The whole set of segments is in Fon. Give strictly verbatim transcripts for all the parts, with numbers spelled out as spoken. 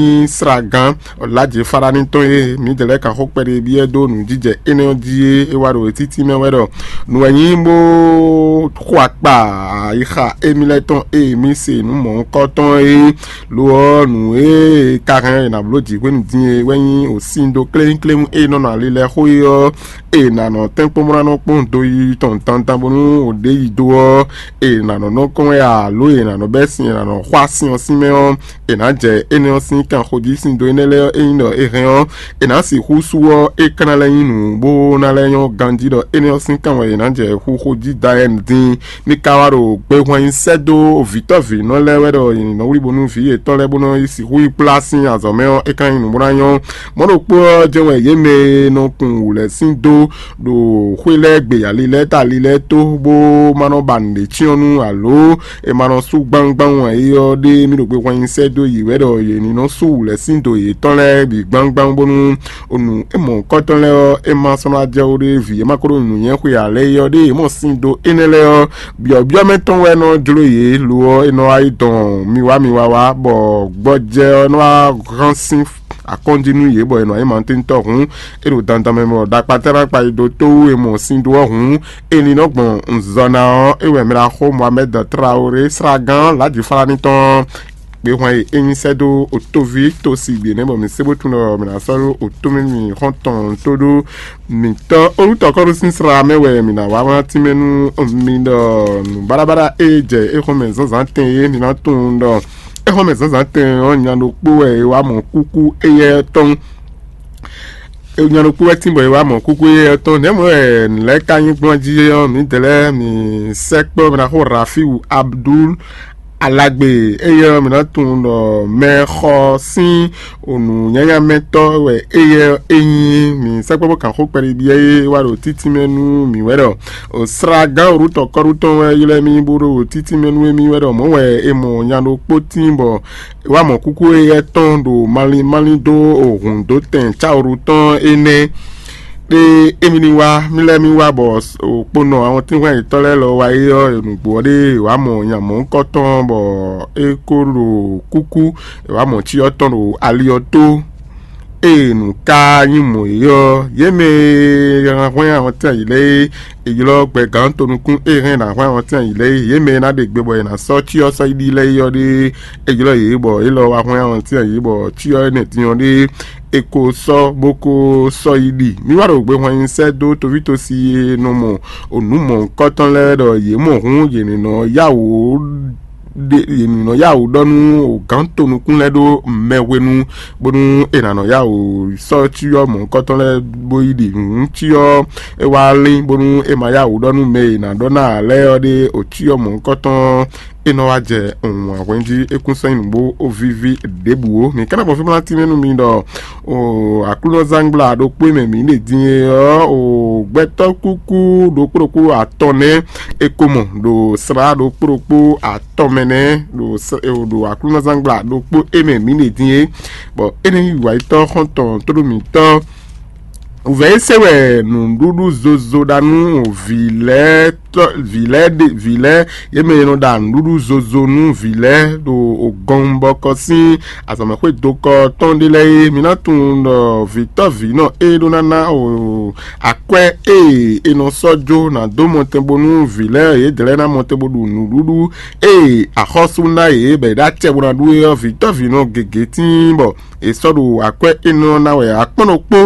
nyí slagán Ɔlǎjě Faɖani tɔn e mǐdɛɛ lɛ́ɛ kan xó kpɛɖé byɔ́ dó nǔjijɛ énɛ́ ɔ́ jí é, é wá ɖo títí mɛ wɛ ɖɔ nǔ wɛ nyí bó xo akpa ayixa émí lɛ́ɛ tɔn e mǐ se nǔ mɔ̌hunkɔtɔn é. Lo ɔ́, nǔ e ka hɛn è nǎ bló jǐ hwenu din é wɛ nyí òsindo kléwúnkléwún e nɔ nɔ ali lɛ́ɛ xó é ɔ́, è nǎ nɔ tɛ́nkpɔ́n bó ná nɔ kpɔ́n do yi tɔn dandan bónú ò ɖě yi do ɔ́, è nǎ nɔ nɔ kɔn wɛ alo è nǎ nɔ bɛ́ sin, è nǎ nɔ xwá sin ɔ́ sín mɛ ɔ́, è nǎ jɛ énɛ́ ɔ́ sín kanxojí sín do énɛ́ lɛ́ɛ ɔ́, ényí ɖɔ è hɛn ɔ́, è nǎ sixú sú ɔ́, é ka ná lɛ́ nyí nǔ bó ná lɛ́ nyɔ́ ganjí ɖɔ énɛ́ ɔ́ sín kan wɛ è nǎ jɛ xú xójí da ɛn din. Mi ka wá ɖo gbehwan nyi sɛ́ dó vǐtɔ́vǐnɔ lɛ́ɛ wɛ ɖɔ è nǐ nɔ wlí bónú vǐ yětɔn lɛ́ɛ bó nɔ yi sixú yi kplá sín azɔ̌ mɛ ɔ́, é ka nyí nǔ bó ná nyɔ́. Mɔ̌ ɖokpó ɔ́ jɛ́n wɛ yě mɛ e nɔ kun wǔ lɛ́ɛ sín dó ɖo xwé lɛ́ɛ gbe ali lɛ́ɛ ta ali lɛ́ɛ tó bó ma nɔ ba nǔɖé cyɔ́n nú alo è ma nɔ sú gbangban wǎn é ɔ́ ɖé, mì ɖo gbehwan nyi sɛ́ dó yě wɛ ɖɔ yě ní nɔ sú wǔ lɛ́ɛ sín do yětɔn lɛ́ɛ bǐ gbangban bónú nǔ e mɔ̌hunkɔtɔn lɛ́ɛ ɔ́, é ma sɔ́ ná jɛ ó ɖé vǐ e ma ko ɖo nǔnywɛ́ xwe ǎ lɛ́ɛ é ɔ́ ɖé, yě mɔ sin dó énɛ́ lɛ́ɛ ɔ́, byɔ̌byɔ́ mɛ tɔn wɛ nɔ jló yě lo ɔ́, é nɔ wá yi dɔn mi wá mi wá wá, bɔ gbɔjɛ ɔ́ nɔ wá hán sín akɔ́njí nú yě, bɔ è nɔ nyi mantentɔ́ hǔn, é ɖo dandan mɛ bɔ ɖakpatɛ́ ná kpa yi dó tó wú è mɔ sin dó ɔ́ hǔn, è ní nɔ gbɔn nzɔ ná ɔ́, é wɛ mɛ ɖaxó Mohamed Traoré, slagán Lǎjifalani tɔn, gbehwan e é nyi sɛ́ dó otóví tosi gbě nɛ́, bɔ mǐ se bó tunwun ɖɔ mǐ ná sɔ́ ɖó otó mɛ mì xɔ́ntɔn tó ɖó mǐtɔn olùtɔkɔ́ɖó sín slá mɛ wɛ mǐ ná wá wlán tínmɛ nú mi ɖɔ nǔ baɖabaɖa e jɛ éxɔ́mɛ zǎnzǎn tɛn é, mi ná tunwun ɖɔ éxɔ́mɛ zǎnzǎn tɛn ɔ́, nya ɖokpó wɛ é wá mɔ kúkú éyɛ́ tɔn. Nya ɖokpó wɛ tín bɔ é wá mɔ kúkú éyɛ́ tɔn. Nɛ̌ mɔ̌ wɛ nǔ lɛ́ɛ ka nyí gbɔn jí ɔ́, mǐdɛɛ lɛ́ɛ mǐ sɛkpɔ́ mɛ ná xó Rafiu Abdul Alagbe, éyɛ́ ɔ́, mǐ ná tunwun ɖɔ mɛxɔ sín nǔnyanyamɛtɔ́ wɛ éyɛ́ ɔ́ é nyí. Mǐ sɛkpɔ́ bó kan xó kpɛɖiɖi e wá ɖo títí mɛ nú mǐ wɛ ɖɔ slagán wǔtɔkɔ́ɖu tɔn wɛ ylɔ́ mì bó ɖo títí mɛ nú émí wɛ ɖɔ mɔ̌ wɛ è mɔ nya ɖokpó tín bɔ é wá mɔ kúkú éyɛ́ tɔn ɖo malín malín dó hǔn dó tɛn cáwǔɖu tɔn énɛ́. Ɖé émí ní wá, mí lɛ́ɛ mí wá bɔ kponɔ awɔntínhwɛ́n yětɔn lɛ́ɛ lɔ wá yi ɔ́, nǔgbó ɔ́ ɖé è wǎ mɔ nya mɔ̌hunkɔtɔn bɔ é kó ɖo kúkú, è wǎ mɔ cyɔ tɔn ɖo ali ɔ́ tó. Ée nǔ ka nyí mɔ̌ é ɔ́, yě mɛ e hɛn hwɛ́n awɔntín ayǐ lɛ́ɛ é, è ylɔ́ gbɛgán tonukún e hɛn ná hwɛ́n awɔntín ayǐ lɛ́ɛ é, yě mɛ e ná ɖe gbe bɔ è nǎ sɔ́ cyɔ sɔ́ yi ɖi lɛ́ɛ é ɔ́ ɖé, è ylɔ́ yě bɔ yě lɔ wá hwɛ́n awɔntín ayǐ bɔ cyɔ énɛ́ din ɔ́ ɖé, è ko sɔ́ bó ko sɔ́ yi ɖi. Mì wá ɖo gbehwan nyi sɛ́ dó toví tosi e nɔ mɔ nǔ mɔ̌hunkɔtɔn lɛ́ɛ ɖɔ yě mɔ hǔn yě ní nɔ yá wǔ ɖe yě ní nɔ yá wǔ ɖɔ nú gǎn tonukún lɛ́ɛ ɖó mɛ hwenu, bónú è nǎ nɔ yá wǔ sɔ́ cyɔ mɔ̌hunkɔtɔn lɛ́ɛ bó yi ɖi nǔ cyɔ é wá lín, bónú è ma yá wǔ ɖɔ nú mɛ e è nǎ ɖɔ ná ǎ lɛ́ɛ ɔ́ ɖé ò cyɔ mɔ̌hunkɔtɔn é nɔ wá jɛ wǎn hwɛ́n jí é kún sɔ́ nyí nǔgbó ó víví ɖěbǔ ó. Mǐ ka ná gbɔn fí bó ná tínmɛ nú mi ɖɔ o aklúnɔzángbla ɖokpó e mɛ mǐ ɖe din é ɔ́, o gbɛtɔ́ kúkú ɖokpó ɖokpó atɔn nɛ́ è ko mɔ ɖo slá ɖokpó ɖokpó atɔn mɛ nɛ́ ɖo s- ɖo aklúnɔzángbla ɖokpó e mɛ mǐ ɖe din é, bɔ é nɛ́ nyí wǎyitɔ́ xɔ́ntɔn tóɖó mǐtɔn. Vɛ̌ é se wɛ nǔɖuɖu zozo ɖa nú vǐ lɛ́ɛ tɔ́ vǐ lɛ́ɛ ɖe vǐ lɛ́ɛ yě mɛ e nɔ ɖa nǔɖuɖu zozo nú vǐ lɛ́ɛ ɖo gɔnbɔkɔ sín azɔ̌mɛxwé dokɔ tɔn ɖé lɛ́ɛ é. Mi ná tunwun ɖɔ vǐtɔ́vǐnɔ e ɖó ná ná o akwɛ́ e è nɔ sɔ́ jó ná dó mɔtɛn bónú vǐ lɛ́ɛ yědɛɛ lɛ́ɛ ná mɔtɛn bó ɖu nǔɖuɖu e axɔ́sú ná yě bɔ è ɖó acɛ bó ná ɖu é ɔ́, vǐtɔ́vǐnɔ gěgé tíin bɔ è sɔ́ ɖo akwɛ́ énɛ́ ɔ́ ná wɛ akpɔ́n ɖokpó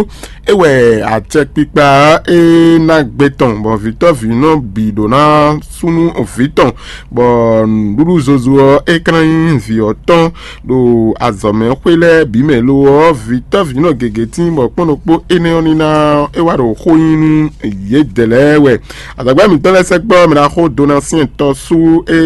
é wɛ acɛkpikpa ɔ́ é ná gbe tɔn, bɔ vǐtɔ́vǐnɔ bǐ ɖó ná súnú vǐ tɔn, bɔ nǔɖuɖu zozo ɔ́ é ka ná nyí vǐ ɔ́ tɔn ɖo azɔ̌mɛxwé lɛ́ɛ bǐ mɛ lo ɔ́, vǐtɔ́vǐnɔ gěgé tíin bɔ kpɔ́n ɖokpó énɛ́ ɔ́ ní ná é wá ɖo xó nyi nú yědɛɛ lɛ́ɛ wɛ. Azɔ̌gbɛ́ mǐtɔn lɛ́ɛ sɛkpɔ́ mɛ ná xó Donasiyɛn tɔ́sú e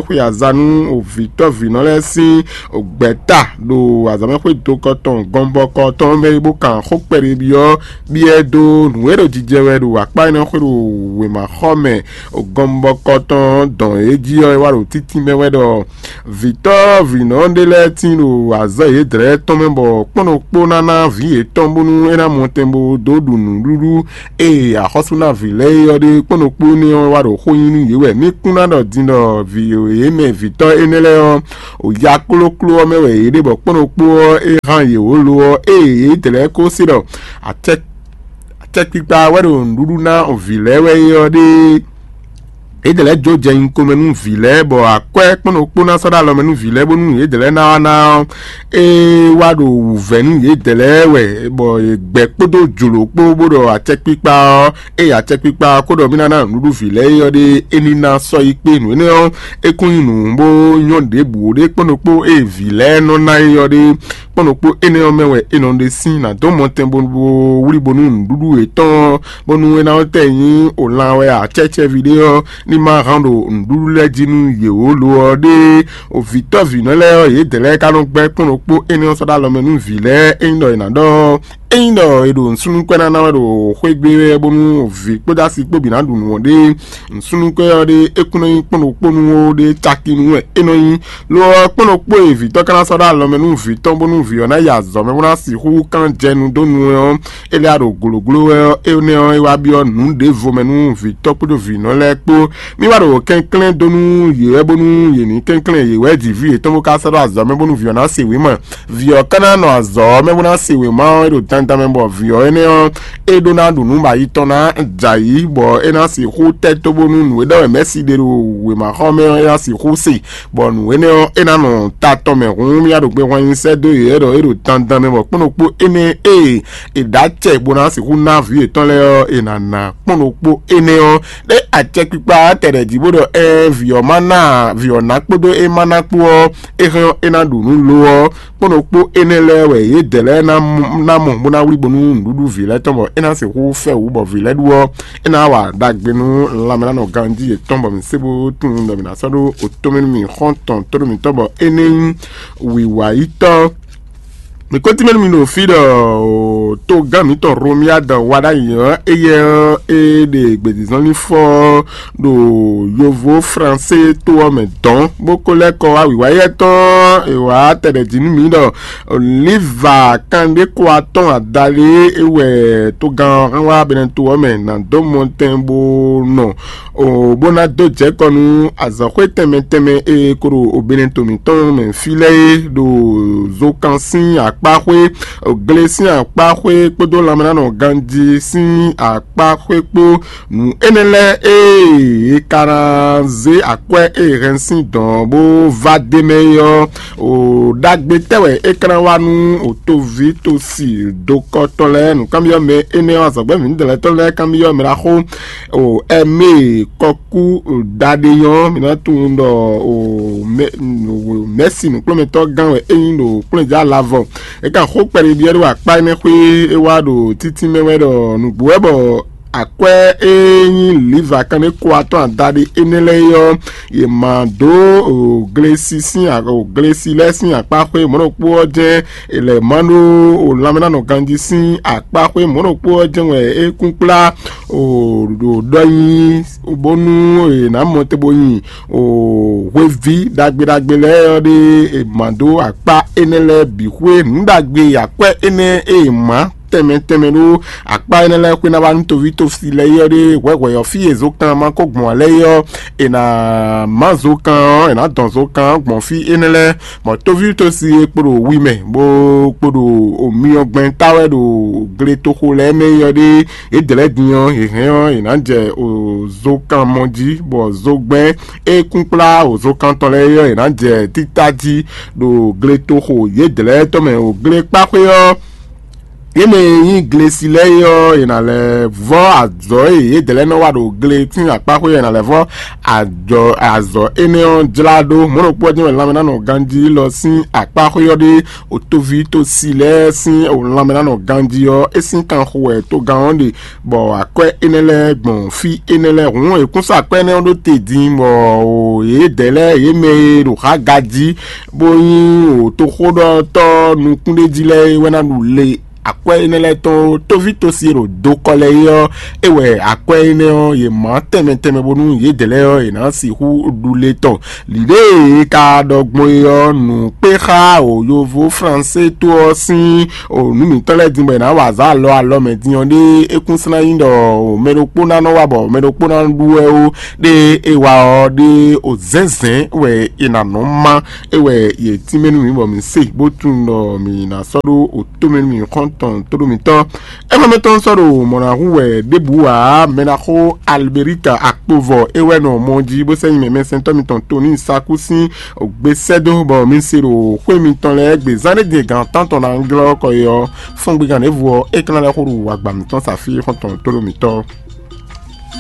xwe aza nú vǐtɔ́vǐnɔ lɛ́ɛ sín gbɛ̌ta ɖo azɔ̌mɛxwé do kɔtɔn gɔnbɔkɔ tɔn mɛ e bó kan xó kpɛɖé byɔ́ byɔ́ dó nǔ e ɖo jijɛ wɛ ɖo akpá énɛ́ xwé ɖo wěmaxɔ mɛ. Gɔnbɔkɔ tɔn dɔn é jí ɔ́, é wá ɖo títí mɛ wɛ ɖɔ vǐtɔ́ vǐnɔ ɖé lɛ́ɛ tín ɖo azɔ̌ yědɛ́lɛ́ tɔn mɛ, bɔ kpɔ́n ɖokpó ná ná vǐ yětɔn bónú é ná mɔ tɛn bó dó ɖu nǔɖuɖu e axɔ́sú ná vǐ lɛ́ɛ é ɔ́ ɖe. Kpɔ́n ɖokpó énɛ́ ɔ́ wá ɖo xó nyi nú yě wɛ. Mí kún ná ɖɔ din ɖɔ vǐ e mɛ vǐtɔ́ énɛ́ lɛ́ɛ ɔ́, o ya klókló ɔ́ mɛ wɛ yě ɖe, bɔ kpɔ́n ɖokpó ɔ́ é hán yě wǒ lo ɔ́, ée yě dlɛ̌ kó se ɖɔ acɛkpikpa wɛ ɖo nǔɖuɖu ná vǐ lɛ́ɛ wɛ é ɔ́ ɖe. Yě dlɛ̌ jó jɛ nyiko mɛ nú vǐ lɛ́ɛ, bɔ akwɛ́ kpɔ́n ɖokpó ná sɔ́ ɖó alɔ mɛ nú vǐ lɛ́ɛ, bónú yě dlɛ̌ ná wá ná ɔ́, é wá ɖo wǔvɛ́ nú yě dlɛ̌ wɛ, bɔ yě gbɛ́ kpódó jlǒ kpó bó ɖɔ acɛkpikpa ɔ́, ée acɛkpikpa ɔ́ ko ɖɔ mì ná ná nǔɖuɖu vǐ lɛ́ɛ é ɔ́ ɖe, é ní ná sɔ́ yi kpé. Nǔ énɛ́ ɔ́, é kún nyí nǔ bó nyɔ́ ɖěbǔ ó ɖé kpɔ́n ɖokpó ée vǐ lɛ́ɛ nɔ ná é ɔ́ ɖe. Kpɔ́n ɖokpó énɛ́ ɔ́ mɛ wɛ è nɔ ɖe sín ná dó mɔtɛn bó wlí bónú nǔɖuɖu yětɔn ɔ́, bónú é ná tɛ nyí o lan wɛ ǎ, cɛ́cɛ́ví ɖé ɔ́ ní ma hán ɖo nǔɖuɖu lɛ́ɛ jí nú yě ó lo ɔ́ ɖe. O vǐtɔ́ vǐnɔ lɛ́ɛ ɔ́, yědɛɛ lɛ́ɛ ka nɔ gbɛ́ kpɔ́n ɖokpó énɛ́ ɔ́ sɔ́ ɖó alɔ mɛ nú vǐ lɛ́ɛ. Ényí ɖɔ è nǎ ɖɔ ényí ɖɔ è ɖo nǔsúnnú kpɛ́ ná ná wɛ ɖo xwé gbe wɛ bónú vǐ kpódó asi kpó bǐ ná ɖu nǔ ɔ́ ɖe, nǔsúnnú kpɛ́ ɔ́ ɖe é kún nɔ nyí kpɔ́n ɖokpó nú ó ɖe, caki nú wɛ é nɔ nyí. Lo ɔ́, kpɔ́n ɖokpó e vǐtɔ́ ka ná sɔ́ ɖó alɔ mɛ nú vǐ tɔn bónú vǐ ɔ́ ná yi azɔ̌ mɛ bó ná sixú kán jɛ nu dó nu ɔ́, é lɛ́ ɖo gǒlǒgló wɛ ɔ́, énɛ́ ɔ́, é wá byɔ́ nǔ ɖěvo mɛ nú vǐtɔ́ kpódó vǐnɔ lɛ́ɛ kpó. Mì wá ɖo kɛnklɛ́n dó nú yě wɛ bónú yě ní kɛnklɛ́n yě wɛ ji vǐ yětɔn bó ka sɔ́ ɖó azɔ̌ mɛ bónú vǐ ɔ́ ná se wěma. Vǐ ɔ́ ka ná nɔ azɔ̌ ɔ́ mɛ bó ná se wěma ɔ́, é ɖo dandan mɛ, bɔ vǐ ɔ́ énɛ́ ɔ́, é ɖó ná ɖu nǔ bɔ ayi tɔn ná jɛ ayǐ, bɔ é ná sixú tɛ́ tó bónú nǔ e ɖɔ wɛ mɛ̌si ɖe ɖo wěmaxɔ mɛ ɔ́, é ná sixú se, bɔ nǔ énɛ́ ɔ́, é ná nɔ ta tɔn mɛ. Hǔn mì wá ɖo gbe hwan nyi sɛ́ dó yě ɖɔ é ɖo dandan mɛ, bɔ kpɔ́n ɖokpó énɛ́ e è ɖǒ acɛ bó ná sixú ná vǐ yětɔn lɛ́ɛ ɔ́, è nǎ ná kpɔ́n ɖokpó énɛ́ ɔ́. Ɖé acɛkpikpa tɛɖɛ jí bó ɖɔ ɛ vǐ ɔ́ ma ná vǐ ɔ́ ná kpódó é ma ná kpó ɔ́, é hɛn ɔ́ é ná ɖu nǔ lo ɔ́, kpɔ́n ɖokpó énɛ́ lɛ́ɛ wɛ yědɛɛ lɛ́ɛ ná mɔ bó ná wlí bónú nǔɖuɖu vǐ lɛ́ɛ tɔn, bɔ é ná sixú fɛ wǔ bɔ vǐ lɛ́ɛ ɖu ɔ́, é ná wa ɖagbe nú lanmɛnánɔ ganjí yětɔn, bɔ mǐ sé bó tunwun ɖɔ mǐ ná sɔ́ ɖó otɔ́mɛ nú mì xɔ́ntɔn tónú mǐtɔn, bɔ é ní nyí wǐwayítɔ́. Mi ko tínmɛ nú mi ɖo fí ɖɔ togán mǐtɔn Romiad wa ɖ'ayǐ ɔ́, éyɛ́ ɔ́, é ɖe gbězínzɔ́nlínfɔ ɖo yovo Fransé to ɔ́ mɛ dɔn, bó ko lɛ́ kɔ wá wǐwá éyɛ́ tɔn. È wǎ tɛɖɛ jí nú mǐ ɖɔ Liva kanɖéko atɔn adaɖé é wɛ togán ɔ́ hɛn wá Benɛto ɔ́ mɛ ná dó mɔtɛn bó nɔ o bó ná dó jɛ kɔ nú azɔ̌xwé tɛnmɛ tɛnmɛ e ko ɖo Benɛto mǐtɔn mɛ fí lɛ́ɛ é, ɖo zokan sín akpáxwé, gle sín akpáxwé kpódó lanmɛnánɔ ganjí sín akpáxwé kpó. Nǔ énɛ́ lɛ́ɛ e è ka ná zé akwɛ́ e è hɛn sín dɔ̌n bó vá d'é mɛ é ɔ́, o ɖagbe tɛ́ wɛ é ka ná wá nú o toví tosi dokɔtɔn lɛ́ɛ? Nǔkanbyɔ́ mɛ énɛ́ ɔ́, azɔ̌gbɛ́ mǐdɛɛ lɛ́ɛ tɔn lɛ́ɛ kanbyɔ́ mɛ ɖaxó o ɛmɛ kɔkú ɖaɖe nyɔ́, mǐ ná tunwun ɖɔ o mɛ̌si nǔkplɔ́nmɛtɔ́ gán wɛ é nyí ɖo kplɔ́njá lavɔ. É ka xó kpɛɖé byɔ́ ɖó akpá énɛ́ xwé é wá ɖo títí mɛ wɛ ɖɔ nǔgbó wɛ bɔ akwɛ́ e nyí liva kanɖéko atɔn adaɖé énɛ́ lɛ́ɛ é ɔ́, yě ma dó glesi sín glesi lɛ́ɛ sín akpáxwé mɔ̌ ɖokpó ɔ́ jɛ́n è lɛ̌ má ɖó lanmɛnánɔ ganjí sín akpáxwé mɔ̌ ɖokpó ɔ́ jɛ́n wɛ é kún kplá ɖo ɖɔ nyi bónú è nǎ mɔ te bó nyi hweví ɖagbe ɖagbe lɛ́ɛ ɔ́ ɖe è ma dó akpá énɛ́ lɛ́ɛ bǐ xwé. Nǔ ɖagbe akwɛ́ énɛ́ e è má tɛnmɛ tɛnmɛ ɖó akpá énɛ́ lɛ́ɛ xwé ná wá nú toví tosi lɛ́ɛ é ɔ́ ɖe hwɛhwɛ ɔ́, fí e zokán ma ko gbɔn ǎ lɛ́ɛ é ɔ́, è nǎ má zokán ɔ́, è nǎ dɔn zokán ɔ́ gbɔn fí énɛ́ lɛ́ɛ. Bɔ toví tosi e kpo ɖo wi mɛ bó kpo ɖo myɔgbɛn ta wɛ ɖo gletoxo lɛ́ɛ mɛ é ɔ́ ɖe, yědɛɛ lɛ́ɛ din ɔ́, è hɛn ɔ́, è nǎ jɛ zokán mɔ jí, bɔ zogbɛ́n e kún kplá zokán tɔn lɛ́ɛ é ɔ́, è nǎ jɛ títá jí ɖo gletoxo yědɛɛ lɛ́ɛ tɔn mɛ. Glekpáxwé ɔ́, Yě mɛ e nyí glesi lɛ́ɛ é ɔ́, è nǎ lɛ́ vɔ́ azɔ̌ e yědɛɛ lɛ́ɛ nɔ wa ɖo gle sín akpáxwé ɔ́, è nǎ lɛ́ vɔ́ azɔ̌ énɛ́ ɔ́ jlá ɖó. Mɔ̌ ɖokpó ɔ́ jɛ́n wɛ lanmɛnánɔ ganjí élɔ́ sín akpáxwé ɔ́ ɖe, otoví tosi lɛ́ɛ sín lanmɛnánɔ ganjí ɔ́, é sín kanxo wɛ togán ɔ́ ɖe, bɔ akwɛ́ énɛ́ lɛ́ɛ gbɔn fí énɛ́ lɛ́ɛ. Hǔn è kún sɔ́ akwɛ́ énɛ́ ɔ́ ɖó te din, bɔ yědɛɛ lɛ́ɛ yě mɛ e ɖo xá gají bó nyí toxóɖɔtɔ́ nukúnɖéjí lɛ́ɛ é wɛ ná ɖu le akwɛ́ énɛ́ lɛ́ɛ tɔn ó. Tóví tosi e ɖo dokɔ lɛ́ɛ é ɔ́, é wɛ akwɛ́ énɛ́ ɔ́, yě má tɛnmɛ tɛnmɛ bónú yědɛɛ lɛ́ɛ ɔ́, yě ná sixú ɖu le tɔn. Lǐɖée e ka ɖɔ gbɔn é ɔ́, nǔ kpé xá o yovo fransé tó ɔ́ sín o nǔ mǐtɔn lɛ́ɛ din bɔ è nǎ wa azǎn alɔ alɔ mɛ din ɔ́ ɖé. É kún sná nyí ɖɔ o mɛ ɖokpó ná nɔ wá bɔ mɛ ɖokpó ná ɖu wɛ ó. Ɖé é wa ɔ́ ɖé o zɛ̌nzɛ̌n wɛ è nǎ nɔ má. É wɛ yě tínmɛ nú mǐ bɔ mǐ se bó tunwun ɖɔ mǐ ná sɔ́ ɖó o tómɛ nú mǐ xɔ́ntɔn tóɖó mǐtɔn. Éfɔ́mɛtɔn sɔ́ ɖo mɔ̌ ná hu wɛ ɖěbǔ ǎ. Mɛ ná xó Alberika akpovɔ é wɛ nɔ mɔ jí bó sɛ́ nyi mɛ mɛsɛntɔ́ mitɔn Toni Saku sín gbé sɛ́ dó bɔ mi se ɖo xwé mitɔn lɛ́ɛ gbe zán ɖé din e gǎn tántɔn ná glɔ́ kɔ é ɔ́, fɔ́ngbigán ɖěvo ɔ́, é ka ná lɛ́ xó ɖo agba mǐtɔn sa fí xɔ́ntɔn tóɖó mǐtɔn.